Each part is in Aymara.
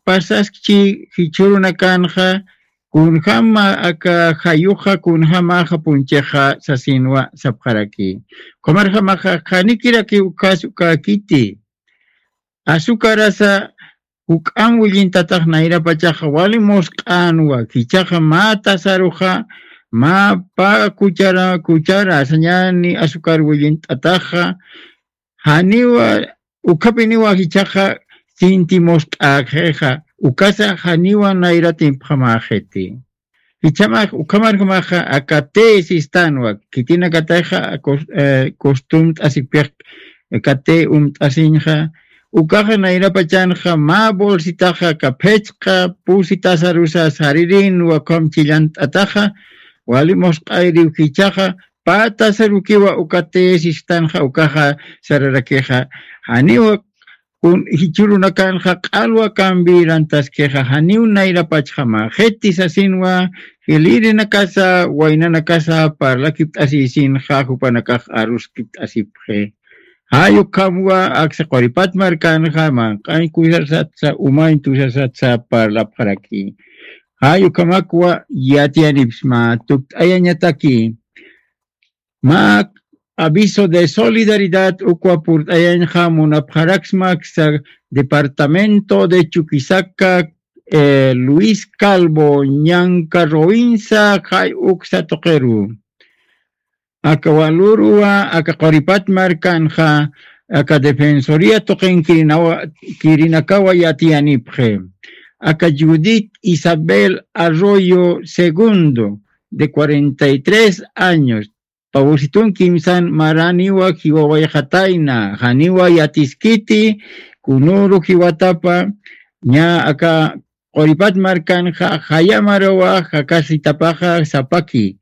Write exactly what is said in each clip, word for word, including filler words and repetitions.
pasaskchi jichhürunakanxa, kunjama aka jayuxa, kunjamaxa punchixa sasinwa sapxaraki. Ukhamarjamaxa, janikiraki ukas ukäkiti. Azucarasa juk'amp willintatax nayrapachaxa wali musq'änwa, jichhaxa mä tazaruxa, mä pä cuchara, cuchara sañäni azúcar willint'ataxa, janiwa, ukhapiniwa jichhaxa sinti musq'äkxixa, ukasa janiwa nayratimp jamäxiti. Jichhamax, ukhamarjamaxa, aka té sistanwa, khitinakatayxa cos-, eh, costumt'asipix, aka té umt'asiñxa, ukaxa nayrapachanxa, mä bolsitaxa, aka phichqa pusi tazarusa saririnwa, ukham chillant'ataxa, wali musq'ayiriw jichhaxa, pä tazarukiwa uka té sistanxa, ukaxa sararakixa, janiwa kun jichhürunakanxa q'alwa kambirantaskixa, janiw nayrapachjamaxiti sasinwa, jilïrinakasa, waynanakasa parlakipt'asïsinxa, jupanakax aruskipt'asipxi. Jay ukhamwa aksa Quripat markanxa, manq'añ kusasatsa, umañ tusasatsa parlapxaraki. Jay ukhamakwa yatiyanipxsma, tukt'ayañataki. Mä aviso de solidaridad ukwa purt'ayañxa munapxaraksma aksa departamento de Chuquisaca, eh, Luis Calvo, Ñanca Roinsa, jay uksa tuqiru. Aka walüruwa, aka Quripat markanxa, aka Defensoría tuqin kirinawa, kirinakawa yatiyanipxi. Aka Judith Isabel Arroyo segundo, de cuarenta y tres años, pawsitun kimsan maraniwa jiwawayxatayna, janiwa yatiskiti, kunüru jiwatapa, ña aka Quripat markanxa, jaya marawa jakasitapaxa sapaki.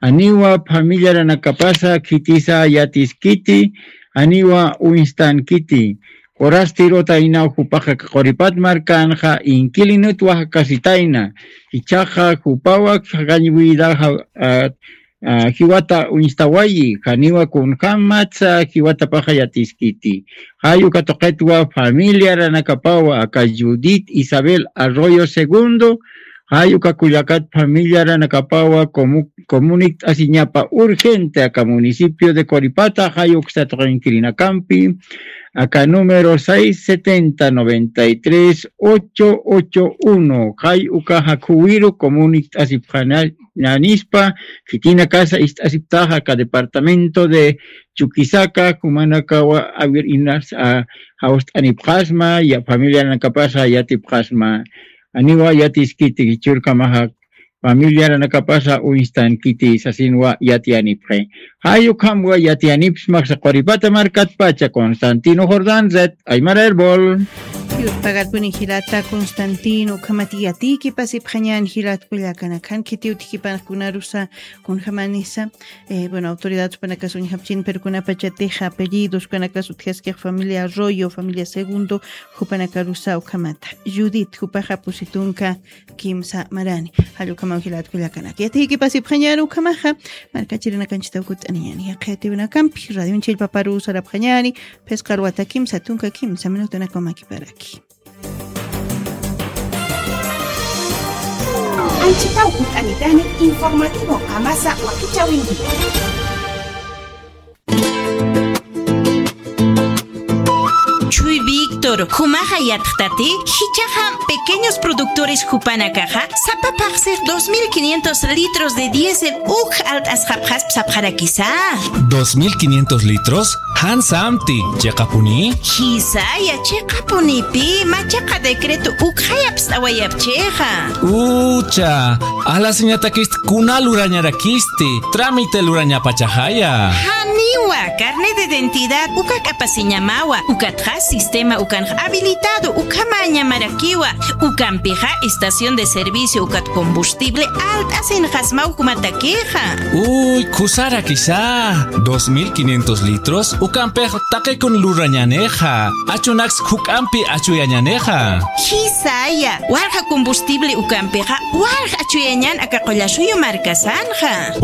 Janiwa familiaranakapasa khitisa yatiskiti, janiwa uñstankiti. Forastirotaynaw jupaxa, aka Quripat markanxa, inquilinotwa jakasitayna. Jichhaxa jupawa jakañ vida ja-, a, a, jiwata uñstawayi, janiwa kunjämatsa jiwatapaxa yatiskiti. Jay uka tuqitwa familiaranakapawa, aka Judith Isabel Arroyo segundo, jay uka kullakat familiaranakapawa comu-, comunikt'asiñapa urgente aka municipio de Quripata, jay uksa tuqin kirinakampi, aka número seis setenta, noventa y tres, ocho ocho uno, jay uka jakhuwiru comunikt'asipxañanispa, khitinakasa ist'asiptaxa aka departamento de Chuquisaca, jumanakawa awir inas, a, jawst'anipxasma, ya familiaranakapasa yatipxasma, janiwa yatiskiti jichhürkamaxa familiaranakapasa uñstankiti sasinwa yatiyanipxi. Jay ukhamwa yatiyanipxsma aksa Quripata markatpacha, Constantino Jordán, Red Aymara Erbol. Yurpagarpuni jilata Constantino, ukhamat yatiyki pasipxañän jilat kullakanakhan, khiti utjkipanx kunarusa, kunjamanisa, eh, bueno, autoridad jupanakas uñjapchin, pero kunapachatixa apellidos, jupanakas utjaskix familia Arroyo, familia Segundo, jupanakarusa ukhamata. Judith, jupaxa pusi tunka kimsa marani. Jall ukhamaw jilat kullakanak. Yatiyki pasipxañäni ukhamaxa, markachirinakanchista ukut'aniñäni. Yaqhitiwinakampi, radioñ chillpaparu sarapxañäni, phisqa arwata kimsa tunka kimsa minutanakwa makiparaki. Anchhitaw ut'anitani informativo qamasa wakichäwinki. Chuy Víctor, jumaxa yatxtati, jichhaxa pequeños productores jupanakaxa, sapa phaxsix dos mil quinientos litros de diésel uk alt'asxapxasp sapxarakisa. ¿Dos mil quinientos litros? ¿Jan samti, chiqapuni? Jisaya, chiqapunipi, mä chiqa decreto ukxay apst'awayapchixa. Ucha, alasiñatakist kuna lurañarakisti, trámite lurañapachaxaya. Janiwa, carnet de identidad uka k'apasiñamawa, ukatxa sistema ukanx habilitado ukhamañamarakiwa, ukampixa estación de servicio ukat combustible alt'asinxasmaw jumatakixa. Uy, khusarakisa, dos mil quinientos litros ukampix taqikun lurañänixa, achunaks juk'ampi achuyañänixa. Jisaya, walja combustible ukampixa, walja achuyañän aka Qullasuyu markasanxa.